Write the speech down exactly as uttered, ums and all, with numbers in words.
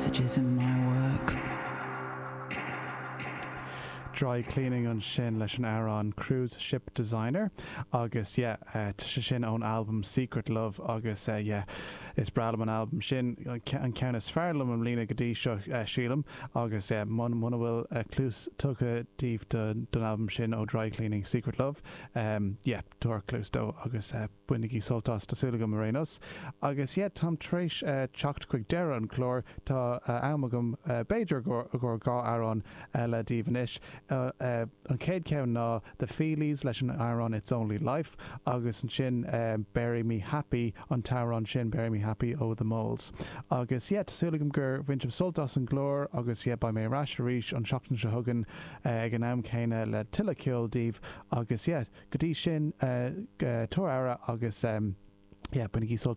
messages in my work. Dry Cleaning ansin leis an amhrán Cruise Ship Designer agus yeah, uh, sé sin ón album Secret Love agus uh, yeah, is breá liom an album sin an ceann is fearr liom i mbliana go dtí seo uh, sílim agus uh, muna bhfuil uh, cluas tugtha daoibh don album sin ó Dry Cleaning Secret Love um, yeah, tabhair cluas dó agus uh, bainigí sult as tá súil agam ar aon nós. Agus yeah, táim tar éis uh, teacht chuig deireadh an chlár tá uh, am agam uh, b'fhéidir gur gur dhá amhrán eile daoibh anois. Uh, uh, an chéad cheann ná The Feelies leis an amhrán It's Only Life agus ansin uh, Bury Me Happy an t-amhrán sin Bury Me Happy ó The Moles. Agus yeah, tá súil agam gur bhain sibh sult as an gclár agus yeah, beidh mé ar ais arís an seachtain seo chugainn uh, ag an am céanna le tuilleadh ceoil daoibh agus yeah, go dtí sin uh, uh, tabhair aire agus um, yeah, bainigí sult